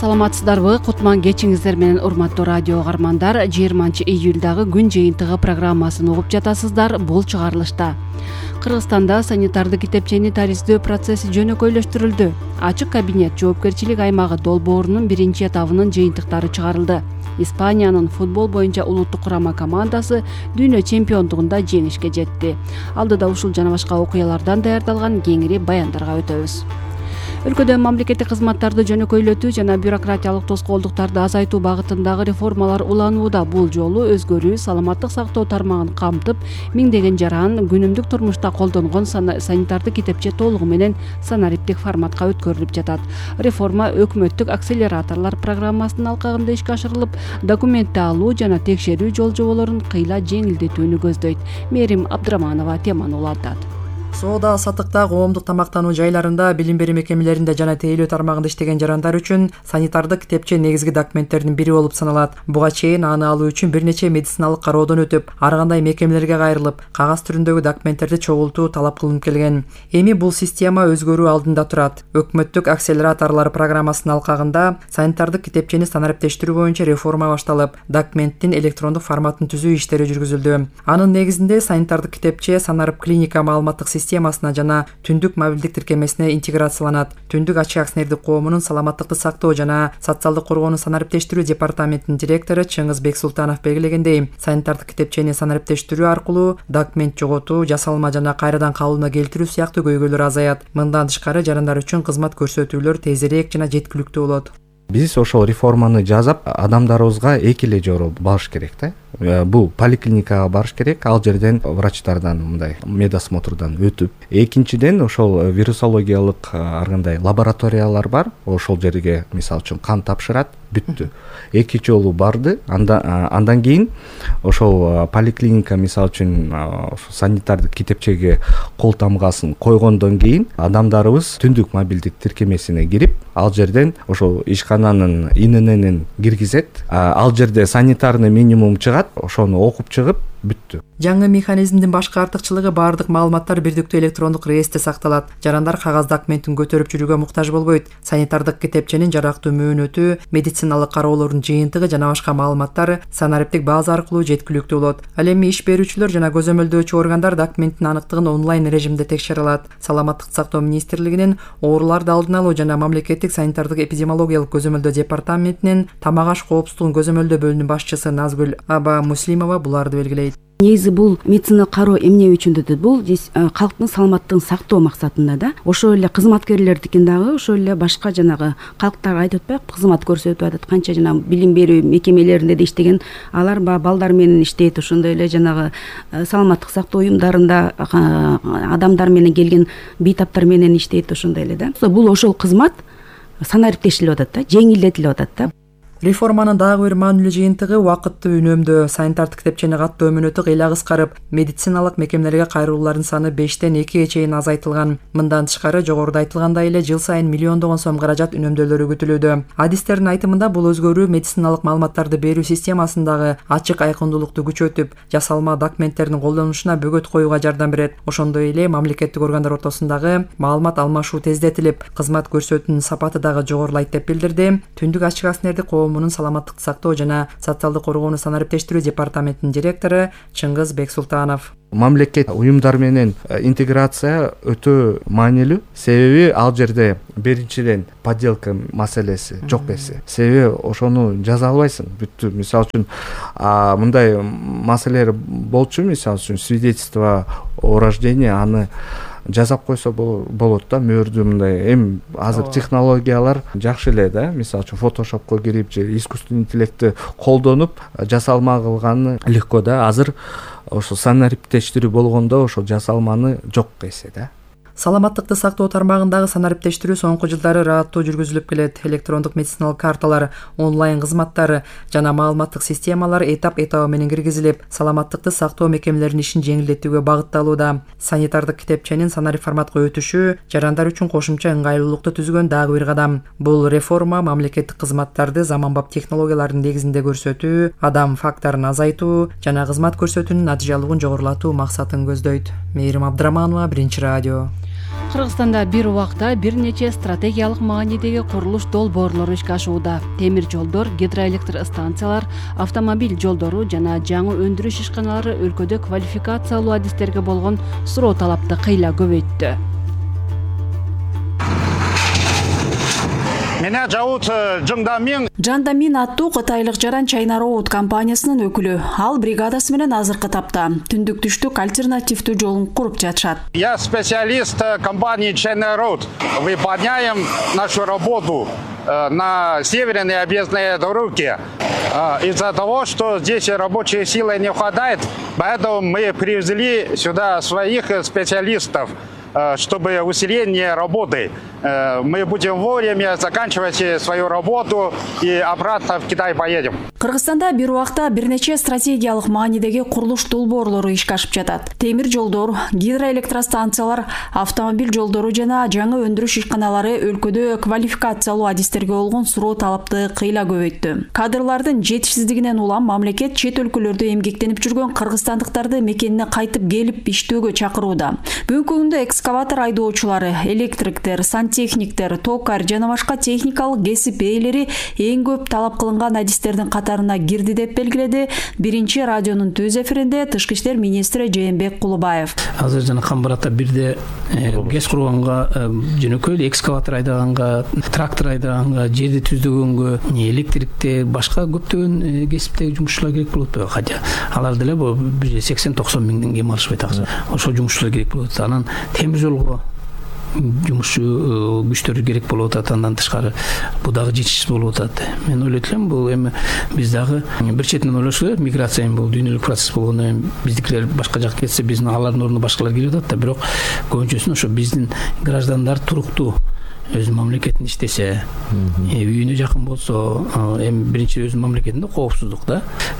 Саламатсыздарбы? Кутман кечиңиздер менен урматтуу радио угармандар. 20-июлдагы күн жыйынтыгы программасын угуп жатасыздар. Бул чыгарылышта Кыргызстанда санитардык китепчени тариздөө процесси жөнөкөйлөштүрүлдү. Ачык кабинет жоопкерчилик аймагы долбоорунун биринчи этабынын жыйынтыктары чыгарылды. Испаниянын футбол боюнча улуттук курама командасы дүйнө чемпиондугунда жеңишке жетти. Алдыда ушул жана башка окуялардан даярдалган кеңири баяндарга өтөбүз. Өлкөдө мамлекеттик кызматтарды жөнөкөйлөтүү жана бюрократиялык тоскоолдуктарды азайтуу багытындагы реформалар уланууда. Бул жолу өзгөрүү саламаттык сактоо тармагын камтып, миңдеген жаран күнүмдүк турмушта колдонгон санитардык китепче толугу менен санариптик форматка өткөрүлүп жатат. Реформа өкмөттүк акселераторлор программасынын алкагында ишке ашырылып, документти алуу жана текшерүү жол жоболорун кыйла жеңилдетүүнү көздөйт. Мээрим Абдраманова теманы улантат. Соода саттыкта, коомдук тамактануу жайларында, билим берүү мекемелеринде жана тейлөө тармагында иштеген жарандар үчүн санитардык китепче негизги документтердин бири болуп саналат. Буга чейин аны алуу үчүн бир нече медициналык кароодон өтүп, ар кандай мекемелерге кайрылып, кагаз түрүндөгү документтерди чогултуу талап кылынып келген. Эми бул система өзгөрүү алдында турат. Өкмөттүк акселераторлор программасынын алкагында санитардык китепчени санариптештирүү боюнча реформа башталып, документтин электрондук форматын түзүү иштери жүргүзүлдү. Анын негизинде санитардык китепче санарип клиника маалыматтык системасына жана түндүк мобилдик тиркемесине интеграцияланат. Түндүк ачык акционердик коомунун саламаттыкты сактоо жана социалдык коргоонун санариптештирүү департаментинин директору Чыңгыз Бексултанов белгилегендей, санитардык китепчени санариптештирүү аркылуу документ жоготуу, жасалма жана кайрадан кабылына келтирүү сыяктуу көйгөйлөр азаят. Мындан тышкары жарандар үчүн кызмат көрсөтүүлөр тезирээк жана жеткиликтүү болот. Биз ошол реформаны жасап, адамдарыбызга эки эле жол барыш керек да. Бул поликлиникага барыш керек, ал жерден врачтардан мындай медосмотрдан өтүп. Экинчиден ошол вирусологиялык ар кандай лабораториялар бар, ошол жерге мисалы үчүн кан тапшырат, бүттү. Эки жолу барды, андан кийин ошол поликлиника мисалы үчүн санитардык китепчеге кол тамгасын койгондон кийин адамдарыбыз түндүк мобилдик тиркемесине кирип, ал жерден ошол ишкананын ИНН-ин киргизет, ал жерде санитарный минимум чыгат, ошону окуп чыгып бүттү. Жаңы механизмдин башкы артыкчылыгы баардык маалыматтар бирдиктүү электрондук реестре сакталат. Жарандар кагаз документин көтөрүп жүрүүгө муктаж болбойт. Санитардык китепченин жарактуу мөөнөтү, медициналык кароолордун жыйынтыгы жана башка маалыматтар санариптик база аркылуу жеткиликтүү болот. Ал эми иш берүүчүлөр жана көзөмөлдөөчү органдар документтин аныктыгын онлайн режимде текшере алат. Саламаттык сактоо министрлигинин ооруларды алдын алуу жана мамлекеттик санитардык эпидемиологиялык көзөмөлдөө департаментинин тамак аш коопсуздугун көзөмөлдөө бөлүмүнүн башчысы Назгүл Аба Муслимова буларды белгилейт. Негизи бул медициналык кароо эмне үчүн дедит? Бул калктын саламаттыгын сактоо максатында да. Ошол эле кызматкерлердикин дагы ошол эле башка жанагы калктарга айтып атпайбы, кызмат көрсөтүп атат. Канча жана билим берүү мекемелеринде да иштеген, алар балдар менен иштейт, ошондой эле жанагы саламаттык сактоо уюмдарында адамдар менен келген бейтаптар менен иштейт, ошондой эле да. Бул ошол кызмат санариптешилип атат да, жеңилдетилип атат да. Реформанын дагы бир маанилүү жыйынтыгы вакытты үнөмдөө. Санитардык китепчени каттоо мөөнөтү кыйла кыскарып, медициналык мекемелерге кайрылуулардын саны 5-тен 2-ге чейин азайтылган. Мындан тышкары жогоруда айтылгандай эле жыл сайын миллиондогон сом каражат үнөмдөлөрү күтүлүүдө. Адистердин айтымында бул өзгөрүү медициналык маалыматтарды берүү системасындагы ачык айкындуулукту күчөтүп, жасалма документтердин колдонулушуна бөгөт коюуга жардам берет. Ошондой эле мамлекеттик органдар ортосундагы маалымат алмашуу тездетилип, кызмат көрсөтүүнүн сапаты дагы жогорулайт деп билдирди Түндүк ачык акционердик коомунун саламаттык сактоо жана социалдык коргоону санариптештирүү департаментинин директору Чыңгыз Бексултанов. Мамлекет уюмдар менен интеграция өтө маанилүү. Себеби ал жерде биринчиден подделка маселеси жок эсе. Себеби ошону жаза албайсың, бүттү. Мисалы үчүн мындай маселелер болчу, мисалы үчүн свидетельство о рождении, аны жасап койсо болот да, мөөрдү мындай. Эми азыр технологиялар жакшы эле да, мисалы үчүн фотошопко кирип же искусственный интеллектти колдонуп жасалма кылганы легко да. Азыр ошо санариптештирүү болгондо ошо жасалманы жок эсе да. Саламаттыкты сактоо тармагындагы санариптештирүү соңку жылдары ырааттуу жүргүзүлүп келет. Электрондук медициналык карталар, онлайн кызматтары жана маалыматтык системалар этап-этабы менен киргизилип, саламаттыкты сактоо мекемелеринин ишин жеңилдетүүгө багытталууда. Санитардык китепченин санарип форматка өтүшү жарандар үчүн кошумча ыңгайлуулукту түзгөн дагы бир кадам. Бул реформа мамлекеттик кызматтарды заманбап технологиялардын негизинде көрсөтүү, адам факторун азайтуу жана кызмат көрсөтүүнүн натыйжалуулугун жогорулатуу максатын көздөйт. Мээрим Абдраманова, Биринчи радио. Кыргызстанда бир убакта бир нече стратегиялык маанидеги курулуш долбоорлору ишке ашууда. Темир жолдор, гидроэлектр станциялар, автомобиль жолдору жана жаңы өндүрүш ишканалары өлкөдө квалификациялуу адистерге болгон суроо талапты кыйла көбөйттү. Меня зовут Жандамин. Жандамин аттуу кытайлык жаран China Road компаниясынын өкүлү. Ал бригадасы менен азыркы тапта түндүк түштүк альтернативдүү жолун куруп жатышат. Я специалист компании China Road. Выполняем нашу работу на северной объездной дороге. Из-за того, что здесь рабочей силы не хватает, поэтому мы привезли сюда своих специалистов, чтобы усиление работы. Мы будем вовремя заканчивать свою работу и обратно в Китай поедем. Кыргызстанда бир убакта бир нече стратегиялык маанидеги курулуш долбоорлору ишке ашып жатат. Темир жолдор, гидроэлектростанциялар, автомобиль жолдору жана жаңы өндүрүш ишканалары өлкөдө квалификациялуу адистерге болгон суроо талапты кыйла көбөйттү. Кадрлардын жетишсиздигинен улам мамлекет чет өлкөлөрдө эмгектенип жүргөн кыргызстандыктарды мекенине кайтып келип иштөөгө чакырууда. Бүгүнкү күндө экскаватор айдоочулары, электриктер, сантехниктер, токар жана башка техникалык кесип ээлери эң көп талап кылынган адистердин катарына кирди деп белгиледи биринчи радионун төз эфиринде Тышкы иштер министри Жээнбек Кулубаев. Азыр жана Камбарата бирде ГЭС курганга, жөнөкөй экскаватор айдаганга, трактор айдаганга, жерди түздөгөнгө, электрикте, башка көптөгөн кесиптеги жумушчулар керек болот. Хотя алар деле 80-90 миңден кем алышпайт акча. Ошол жумушчулар керек болот. Анан темир жолго жумушчу күчтөр керек болуп атат, андан тышкары бул дагы жетишсиз болуп атат. Мен ойлойт элем, бул эми биз дагы бир четинен ойлош керек, миграция бул дүйнөлүк процесс болгондон биздикилер башка жакка кетсе, биздин алардын ордуна башкалар келип атат да, бирок көбүнчөсүн ошо биздин граждандар туруктуу өзүнүн мамлекетинде иштесе, үйүнө жакын болсо, эми биринчи өзүнүн мамлекетинде коопсуздук да.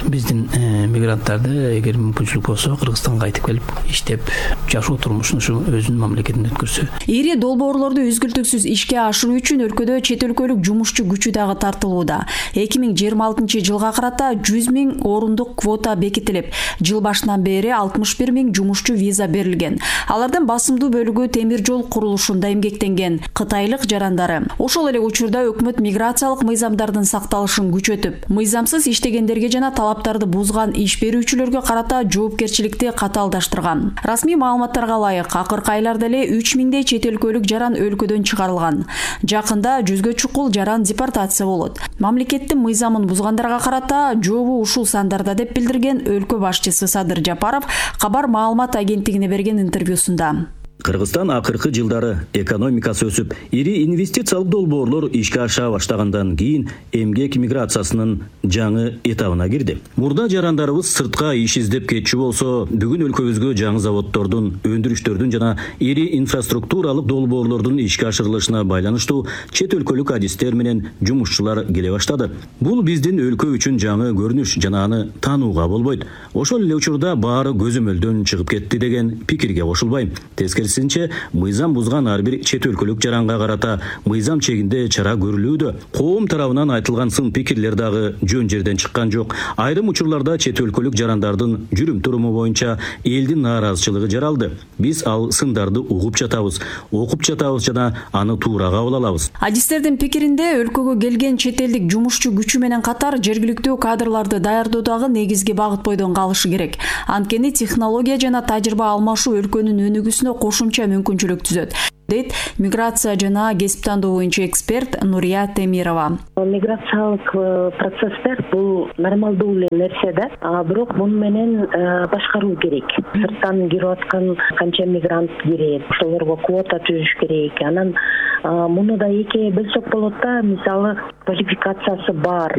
Биздин мигранттарды эгер мүмкүнчүлүк болсо Кыргызстанга кайтып келип иштеп, жашоо турмушун ушу өзүнүн мамлекетинде өткөрсө. Ири долбоорлорду үзгүлтүксүз ишке ашыруу үчүн өлкөдө чет өлкөлүк жумушчу күчү дагы тартылууда. 2026-жылга карата 100 миң орундук квота бекитилип, жыл башынан бери 61 миң жумушчу виза берилген. Алардын басымдуу бөлүгү темир жол курулушунда эмгектенген кытайлык жарандары. Ошол эле учурда өкмөт миграциялык мыйзамдардын сакталышын күчөтүп, мыйзамсыз иштегендерге жана талаптарды бузган иш берүүчүлөргө карата жоопкерчиликти катаалдаштырган. Расмий маалыматтарга ылайык, акыркы айларда эле 3 миңдей чет өлкөлүк жаран өлкөдөн чыгарылган. Жакында 100гө чукул жаран депортация болот. Мамлекеттин мыйзамын бузгандарга карата жообу ушул сандарда деп билдирген өлкө башчысы Садыр Жапаров кабар маалымат агенттигине берген интервьюсунда. Кыргызстан акыркы жылдары экономикасы өсүп, ири инвестициялык долбоорлор ишке аша баштагандан кийин эмгек миграциясынын жаңы этабына кирди. Мурда жарандарыбыз сыртка иш издеп кетчү болсо, бүгүн өлкөбүзгө жаңы заводдордун, өндүрүштөрдүн жана ири инфраструктуралык долбоорлордун ишке ашырылышына байланыштуу чет өлкөлүк адистер менен жумушчулар келе баштады. Бул биздин өлкө үчүн жаңы көрүнүш жана аны таанууга болбойт. Ошол эле учурда баары көзөмөлдөн чыгып кетти деген пикирге кошулбайм. Тескерисинче, мыйзам бузган ар бир чет өлкөлүк жаранга карата мыйзам чегинде чара көрүлүүдө. Коом тарабынан айтылган сын пикирлер дагы жөн жерден чыккан жок. Айрым учурларда чет өлкөлүк жарандардын жүрүм туруму боюнча элдин нааразычылыгы жаралды. Биз ал сындарды угуп жатабыз, окуп жатабыз жана аны туура кабыл алабыз. Адистердин пикиринде өлкөгө келген чет элдик жумушчу күчү менен катар жергиликтүү кадрларды даярдоодагы негизги багыт бойдон калышы керек. Анткени технология жана тажрыйба алмашуу өлкөнүн өнүгүүсүнө кошумча мүмкүнчүлүк түзөт, дейт миграция жана кесип тандоо боюнча эксперт Нурия Темирова. Миграциялык процесстер бул нормалдуу эле нерсе да, бирок муну менен башкаруу керек. Сырттан кирип аткан канча мигрант кирет, ошолорго квота түзүш керек. Анан муну да экиге бөлсөк болот да, мисалы квалификациясы бар,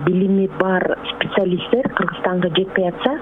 билими бар специалисттер Кыргызстанга жетпей атса,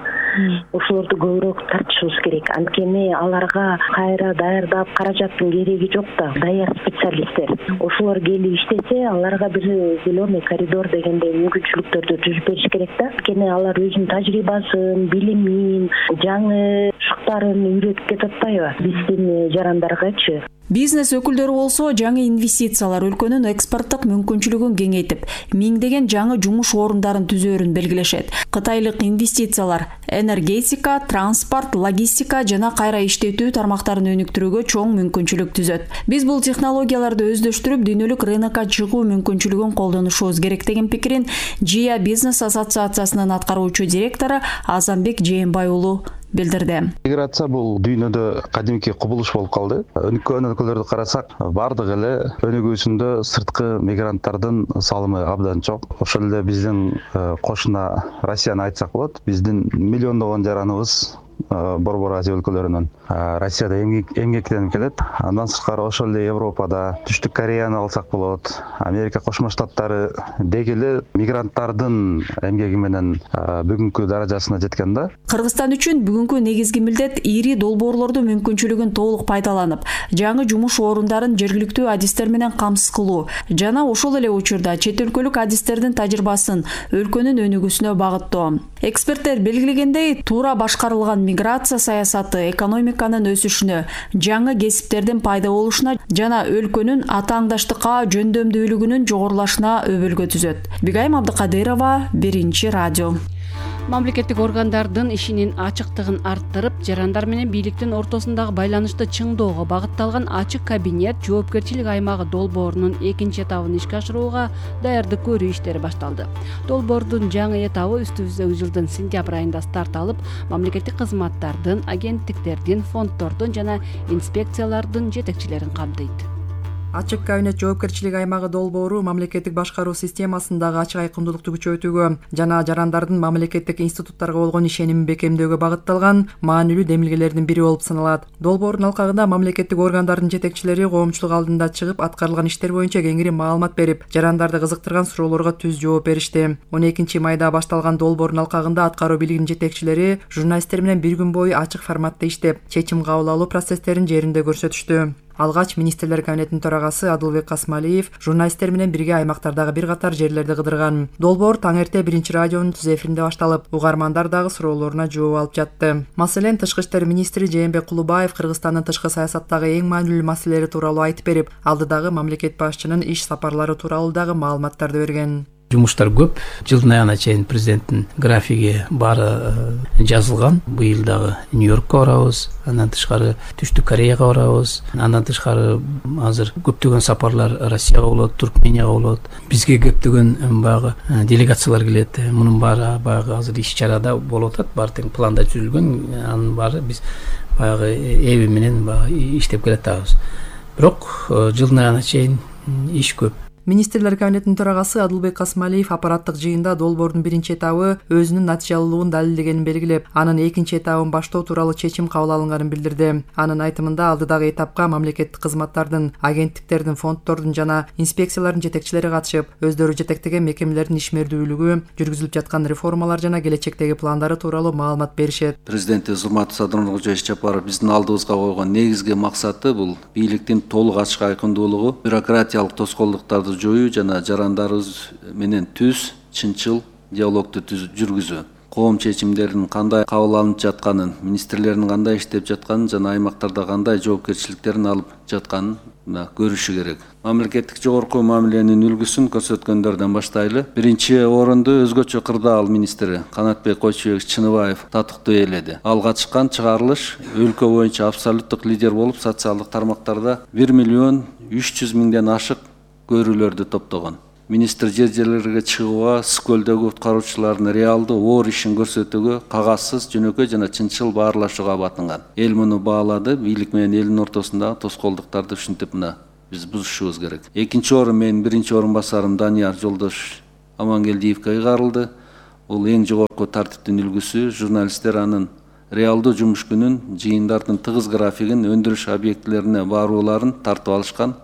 ошолорду көбүрөөк тартышыбыз керек. Анткени аларга кайра даярдап каражаттын кереги жок да, даяр специалисттер. Ошолор келип иштесе, аларга бир зеленый коридор дегендей мүмкүнчүлүктөрдү түзүп бериш керек да. Анткени алар өзүнүн тажрыйбасын, билимин, жаңы шуктарын үйрөтүп кетип атпайбы биздин жарандаргачы. Бизнес өкүлдөрү болсо жаңы инвестициялар өлкөнүн экспорттук мүмкүнчүлүгүн кеңейтип, миңдеген жаңы жумуш орундарын түзөөрүн белгилешет. Кытайлык инвестициялар энергетика, транспорт, логистика жана кайра иштетүү тармактарын өнүктүрүүгө чоң мүмкүнчүлүк түзөт. Биз бул технологияларды өздөштүрүп, дүйнөлүк рынокко чыгуу мүмкүнчүлүгүн колдонушубуз керек деген пикирин ЖИА бизнес ассоциациясынын аткаруучу директору Азамбек Жээнбай уулу билдирди. Миграция бул дүйнөдө кадимки кубулуш болуп калды. Өнүккөн өлкөлөрдү карасак, бардык эле өнүгүүсүндө сырткы мигранттардын салымы абдан чоң. Ошол эле биздин кошуна Россияны айтсак болот. Биздин миллиондогон жараныбыз Борбор Азия өлкөлөрүнөн Россияда эмгектенип келет. Андан сырткары ошол эле Европада, Түштүк Кореяны алсак болот, Америка Кошмо Штаттары деги эле мигранттардын эмгеги менен бүгүнкү даражасына жеткен да. Кыргызстан үчүн бүгүнкү негизги милдет ири долбоорлордун мүмкүнчүлүгүн толук пайдаланып, жаңы жумуш орундарын жергиликтүү адистер менен камсыз кылуу жана ошол эле учурда чет өлкөлүк адистердин тажрыйбасын өлкөнүн өнүгүүсүнө багыттоо. Эксперттер белгилегендей, туура башкарылган миграция саясаты экономиканын өсүшүнө, жаңы кесиптердин пайда болушуна жана өлкөнүн атааңдаштыкка жөндөмдүүлүгүнүн жогорулашына өбөлгө түзөт. Бигайым Абдыкадырова, Биринчи радио. Мамлекеттик органдардын ишинин ачыктыгын арттырып, жарандар менен бийликтин ортосундагы байланышты чыңдоого багытталган ачык кабинет жоопкерчилик аймагы долбоорунун экинчи этабын ишке ашырууга даярдык көрүү иштери башталды. Долбоордун жаңы этабы үстүбүздөгү жылдын сентябрь айында старт алып, мамлекеттик кызматтардын, агенттиктердин, фонддордун жана инспекциялардын жетекчилерин камтыйт. Ачык кабинет жоопкерчилик аймагы долбоору мамлекеттик башкаруу системасындагы ачык айкындуулукту күчөтүүгө жана жарандардын мамлекеттик институттарга болгон ишенимин бекемдөөгө багытталган маанилүү демилгелердин бири болуп саналат. Долбоордун алкагында мамлекеттик органдардын жетекчилери коомчулук алдында чыгып, аткарылган иштер боюнча кеңири маалымат берип, жарандарды кызыктырган суроолорго түз жооп беришти. 12-майда башталган долбоордун алкагында аткаруу бийлигинин жетекчилери журналисттер менен бир күн бою ачык форматта иштеп, чечим кабыл алуу процесстерин жеринде көрсөтүштү. Алгач министрлер кабинетинин төрагасы Адылбек Касмалиев журналисттер менен бирге аймактардагы бир катар жерлерди кыдырган. Долбоор таң эрте Биринчи радионун түз эфиринде башталып, угармандар дагы суроолоруна жооп алып жатты. Маселен, Тышкы иштер министри Жээнбек Кулубаев Кыргызстандын тышкы саясаттагы эң маанилүү маселелери тууралуу айтып берип, алдыдагы мамлекет башчынын иш сапарлары тууралуу дагы маалыматтарды берген. Жумуштар көп. Жылдын аягына чейин президенттин графиги баары жазылган. Быйыл дагы Нью-Йоркко барабыз, андан тышкары Түштүк Кореяга барабыз. Андан тышкары азыр көптөгөн сапарлар Россияга болот, Туркменияга болот. Бизге көптөгөн баягы делегациялар келет. Мунун баары баягы азыр иш-чарада болуп атат. Баары тең планда түзүлгөн. Анын баары биз баягы эби менен баягы иштеп келатабыз. Бирок жылдын аягына чейин иш көп. Министрлер кабинетинин төрагасы Адылбек Касмалиев аппараттык жыйында долбоордун биринчи этабы өзүнүн натыйжалуулугун далилдегенин белгилеп, анын экинчи этабын баштоо тууралуу чечим кабыл алынганын билдирди. Анын айтымында алдыдагы этапка мамлекеттик кызматтардын, агенттиктердин, фонддордун жана инспекциялардын жетекчилери катышып, өздөрү жетектеген мекемелердин ишмердүүлүгү, жүргүзүлүп жаткан реформалар жана келечектеги пландары тууралуу маалымат беришет. Президентибиз Урматтуу Садыр Нуркожоевич Жапаров биздин алдыбызга койгон негизги максаты бул бийликтин толук ачык айкындуулугу, бюрократиялык тоскоолдуктарды жоюу жана жарандарыбыз менен түз, чынчыл диалогду жүргүзүү. Коом чечимдеринин кандай кабыл алынып жатканын, министрлердин кандай иштеп жатканын жана аймактарда кандай жоопкерчиликтерин алып жатканын көрүшү керек. Мамлекеттик жогорку мамиленин үлгүсүн көрсөткөндөрдөн баштайлы. Биринчи орунду өзгөчө кырдаал министри Канатбек Койчубекович Чыныбаев татыктуу ээледи. Ал катышкан чыгарылыш өлкө боюнча абсолюттук лидер болуп, социалдык тармактарда 1.300.000 ашык көрүүлөрдү топтогон. Министр жер-жерлерге чыгууга, Скөлдөгү уткаруучулардын реалдуу оор ишин көрсөтүүгө, кагазсыз, жөнөкөй жана чынчыл баарлашууга батынган. Эл муну баалады, бийлик менен элдин ортосундагы тоскоолдуктарды ушинтип биз бузушубуз керек. Экинчи орун менин биринчи орун басарым Данияр Жолдош Амангелдиевке ыйгарылды. Бул эң жогорку тартиптин үлгүсү, журналисттер анын реалдуу жумуш күнүн, жыйындардын тыгыз графигин, өндүрүш объектилерине барууларын тартып алышкан.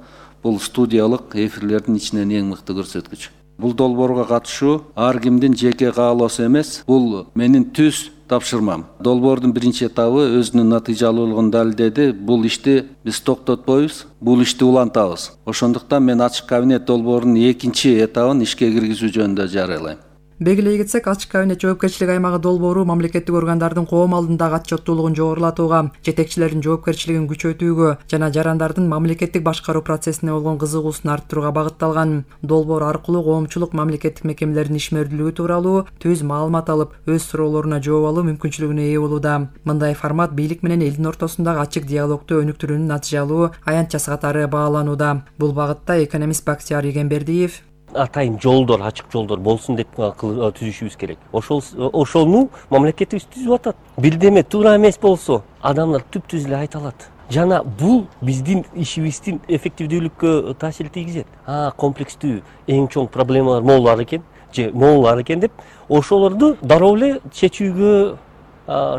Бул студиялык эфирлердин ичинен эң мыкты көрсөткүч. Бул долбоорго катышуу ар кимдин жеке каалоосу эмес, бул менин түз тапшырмам. Долбоордун биринчи этабы өзүнүн натыйжалуулугун далилдеди. Бул ишти биз токтотпойбуз, бул ишти улантабыз. Ошондуктан мен ачык кабинет долбоорунун экинчи этабын ишке киргизүү жөнүндө жарыялайм. Белгилей кетсек, ачык кабинет жоопкерчилик аймагы долбоору мамлекеттик органдардын коом алдындагы отчеттуулугун жогорулатууга, жетекчилердин жоопкерчилигин күчөтүүгө жана жарандардын мамлекеттик башкаруу процессине болгон кызыгуусун арттырууга багытталган. Долбоор аркылуу коомчулук мамлекеттик мекемелердин ишмердүүлүгү тууралуу түз маалымат алып, өз суроолоруна жооп алуу мүмкүнчүлүгүнө ээ болууда. Мындай формат бийлик менен элдин ортосундагы ачык диалогду өнүктүрүүнүн натыйжалуу аянтчасы катары бааланууда. Бул багытта экономист Бактияр Игенбердиев атайын жолдор, ачык жолдор болсун деп түзүшүбүз керек. Ошону мамлекетибиз түзүп атат. Бирдеме туура эмес болсо, адамдар түп-түз эле айта алат. Жана бул биздин ишибиздин эффективдүүлүккө таасир тийгизет. Комплекстүү эң чоң проблемалар могулар экен деп, ошолорду дароо эле чечүүгө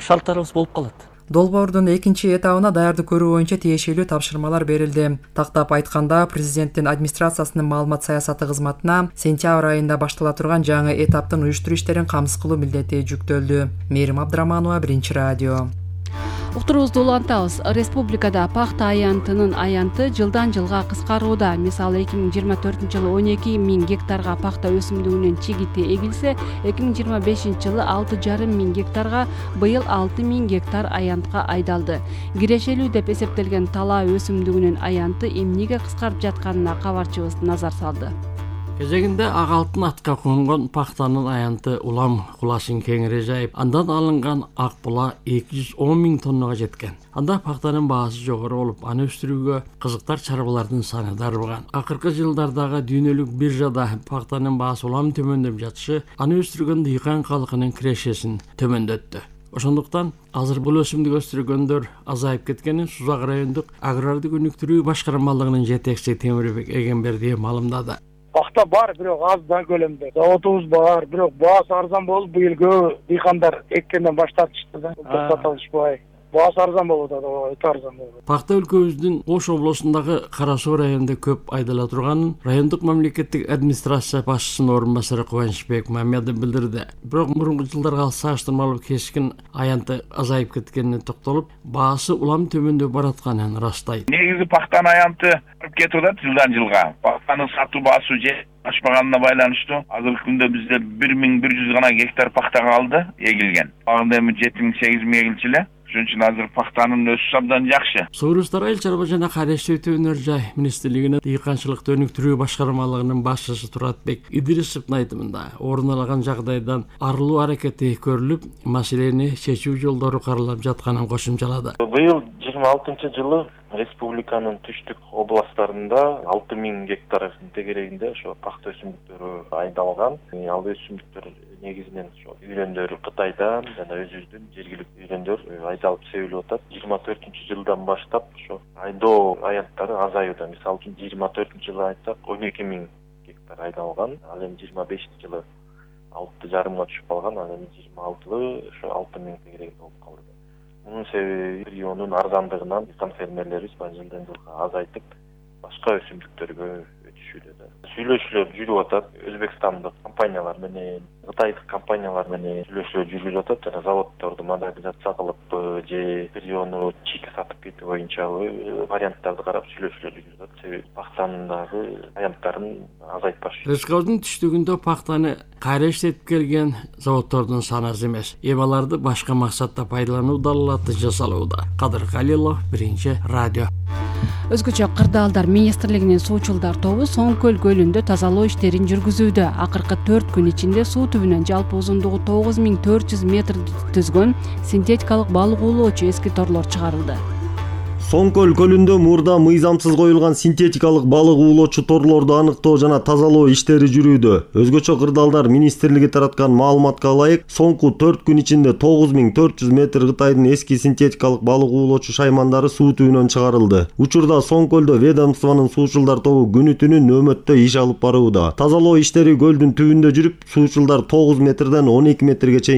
шарттарыбыз болуп калат. Долбоордун экинчи этабына даярдык көрүү боюнча тиешелүү тапшырмалар берилди. Тактап айтканда, президенттин администрациясынын маалымат саясаты кызматына сентябрь айында баштала турган жаңы этаптын уюштуруу иштерин камсыз кылуу милдети жүктөлдү. Мээрим Абдыраманова, Биринчи радио. Уктуруубузду улантабыз. Республикада пахта аянтынын аянты жылдан жылга кыскарууда. Мисалы 2024-жылы 12 миң гектарга пахта өсүмдүгүнүн чигити эгилсе, 2025-жылы 6,5 миң гектарга, быйыл 6 миң гектар аянтка айдалды. Кирешелүү деп эсептелген талаа өсүмдүгүнүн аянты эмнеге кыскарып жатканына кабарчыбыз назар салды. Кезегинде ак алтын атка конгон пахтанын аянты улам кулашын кеңири жайып, андан алынган ак була 210 миң тоннага жеткен. Анда пахтанын баасы жогору болуп, аны өстүрүүгө кызыктар чарбалардын саны дарбыган. Акыркы жылдардагы дүйнөлүк биржада пахтанын баасы улам төмөндөп жатышы, аны өстүргөн дыйкан калкынын кирешесин төмөндөттү. Ошондуктан азыр бул өсүмдүк өстүргөндөр азайып кеткенин Сузак райондук агрардык өнүктүрүү башкармалыгынын жетекчиси Темирбек Эгенбердиев маалымдады. Пахта бар, бирок аз да көлөмдө. Заводубуз бар, бирок баасы арзан болуп, быйыл көп дыйкандар эккенден баш тартышты да. Сата алышпай. Баасы арзан болуп атат, өтө арзан болуп. Пахта өлкөбүздүн Ош облусундагы Кара Суу районунда көп айдала турганын райондук мамлекеттик администрация башчысынын орун басары Кубанычбек Мамедов билдирди. Бирок мурунку жылдарга салыштырмалуу кескин аянты азайып кеткенине токтолуп, баасы улам төмөндөп баратканын ырастайт. Негизи пахтанын аянты кетип атат жылдан жылга. Пахтанын сатуу баасы ашпаганына байланыштуу азыркы күндө бизде 1100 гана гектар пахта калды эгилген. Агында эми 7-8 миң эгилчү эле. Ошон үчүн азыр пахтанын өсүшү абдан жакшы. Согурустар айыл чарба жана кайраштуу өнөр жай министрлигинин дыйканчылыкты өнүктүрүү башкармалыгынын башчысы Туратбек Идрисовдун айтымында орун алган жагдайдан арылуу аракети көрүлүп, маселени чечүү жолдору каралып жатканын кошумчалады. Быйыл 26-жылы республиканын түштүк областтарында 6 миң гектар тегерегинде ошо пахта өсүмдүктөрү айдалган. Ал өсүмдүктөр негизинен ошо үйлөндөр Кытайдан жана өзүбүздүн жергиликтүү үйлөндөр айдалып себилип атат. 24-жылдан баштап ошо айдоо аянттары азаюуда. Мисалы үчүн 24-жылы айтсак 12 миң гектар айдалган. Ал эми 25-жылы 6,5 түшүп калган. Ал эми 26-жылы ошо 6 миң тегерегинде болуп калды. Мунун себеби региондун арзандыгынан дыйкан фермерлерибиз жылдан жылга азайтып, башка өсүмдүктөргө өтүшүүдө. Сүйлөшүүлөр жүрүп атат. Өзбекстандык компаниялар менен, Кытайдык компаниялар менен сүйлөшүүлөр жүрүп атат. Жана заводдорду модернизация кылып же региону чийки сатып кетүү боюнча варианттарды карап сүйлөшүүлөр жүрүп атат. Себеби пахтанындагы аянттарын азайтпаш. Республикабыздын түштүгүндө пахтаны кайра иштетип келген заводдордун саны аз эмес. Эми аларды башка максатта пайдалануу далалаты жасалууда. Кадыр Калилов, Биринчи радио. Өзгөчө Кырдаалдар министрлигинин суучулдар тобу Соң көл көлүндө тазалоо иштерин жүргүзүүдө. Акыркы 4 күн ичинде суу түбүнөн жалпы узундугу 9400 метр түзгөн синтетикалык балык уулоочу эски торлор чыгарылды. Соң көл көлүндө мурда мыйзамсыз коюлган синтетикалык балык уулоочу торлорду аныктоо жана тазалоо иштери жүрүүдө. Өзгөчө Кырдаалдар министрлиги тараткан маалыматка ылайык, соңку 4 күн ичинде 9400 метр Кытайдын эски синтетикалык балык уулоочу шаймандары суу түбүнөн чыгарылды. Учурда Соң көлдө ведомствонун суучулдар тобу күнү-түнү нөөмөттө иш алып барууда. Тазалоо иштери көлдүн түбүндө жүрүп, суучулдар 9 метрден 12 метрге чейин